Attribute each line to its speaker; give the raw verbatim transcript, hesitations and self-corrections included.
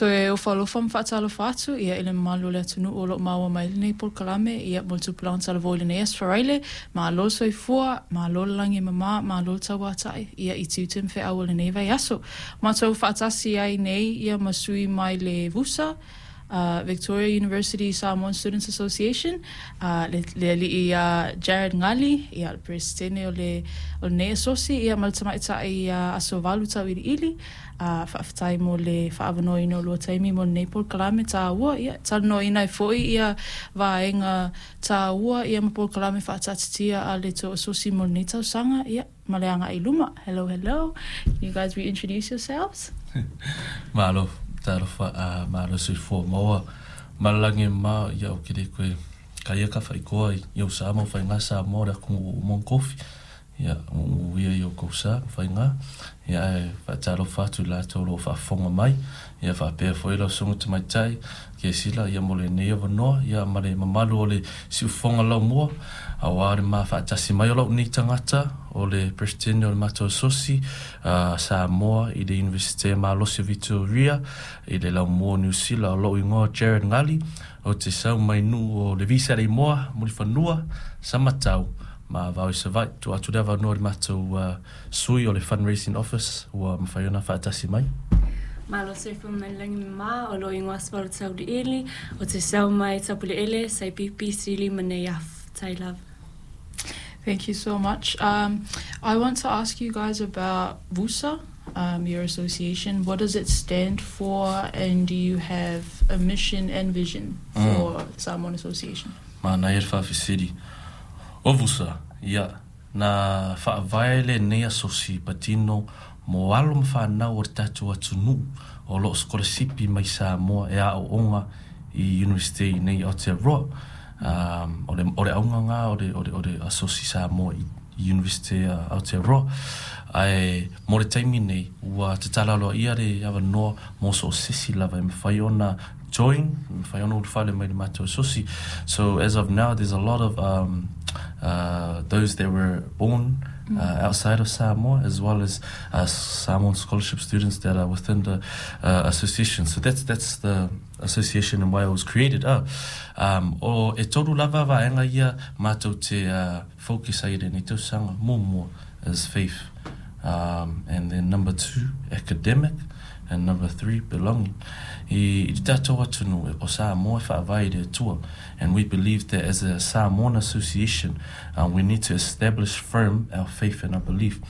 Speaker 1: Toe ofa alofa ma faatalofa atu ia i le mamalu o le atunuu o loo maua mai lenei polokalame ia mo le tupulaga talavou i lenei aso Faraile. Malo le soifua, malo le lagi e mama, malo le tauatai ia i tiute ma feau o lenei vaiaso. Matou faatasi ai nei ia ma sui mai le VUSA, uh, Victoria University Samoan Students Association, uh, le, le alii uh, Jared Ngali, ia le presidente o le o lenei asosi, ia ma le tamaitai uh, Asovalu Tauiliili. uh, faafetai mo le faaavanoaina o lua taimi mo lenei polokalame taua ia talanoaina ai foi ia vaega taua ia ma polokalame faataatitia a le tou asosi mo lenei tausaga ia ma le agai i luma. Hello, hello. Can you guys reintroduce yourselves?
Speaker 2: Malo, talofa, uh, malo soifua maua ma le lagi e mama. Ia o ke le koe kaia ka whaikoa i au sa mo whainga sa mo le akungu o mong kofi. Ia, o ia i o kou sa whainga. Ia e whaatalofa atu latou o lo o faafofoga mai. Ia faapea foi lau susuga tamaitai ke sila ia mo lenei avanoa. Ia ma le mamalu o le siufofoga laumua. Auā le ma faatasi mai o lau nei tagata o le presidente o le matou asosi uh, Samoa i le Universite Malosi o Victoria i le laumua o Niu Sila. O lou igoa Jared Ngali, ou te sau mai Nuu o le Visa le Imoa, Mulifanua, Samatau ma vao i Savaii. Tuu atu le avanoa i le matou uh, sui o le fundraising office ua mafai ona faatasi mai.
Speaker 3: Malo soifua ma le lagi e mama. O lou igoa Asovalu Tauiliili, o te sau mai Tapuleele, Saipipi, Sili ma Neiafu. Tai lava.
Speaker 1: Thank you so much. Um, I want to ask you guys about VUSA, um, your association. What does it stand for, and do you have a mission and vision for mm. Samoan Association?
Speaker 2: Manaia le faafesili. O VUSA, ia, na faavae lenei asosi patino mo alo ma whanau o le tatou atunuu o loo sikolasipi mai Samoa e aooga i University nei Aotearoa. Um, o le, o le auga lena o le, o le, o le asosi Samoa i University uh, Aotearoa. Ae mo le taimi nei, ua tatala aloaia le avanoa mo so o se isi lava e mafai ona join, mafai ona ulufale mai le matou asosi. So as of now, there's a lot of um, uh, those that were born uh, outside of Samoa, as well as uh, Samoan scholarship students that are within the uh, association. So that's that's the association and why it was created. Uh, um, o e tolu lava vaega ia matou te uh, focus ai i lenei tausaga. Muamua is faith. Um, and then number two, academic. And number three, belonging. I, i te tatou atunuu o Samoa e faavae i le Atua. And we believe that as a Samoan association, uh, we need to establish firm our faith and our belief.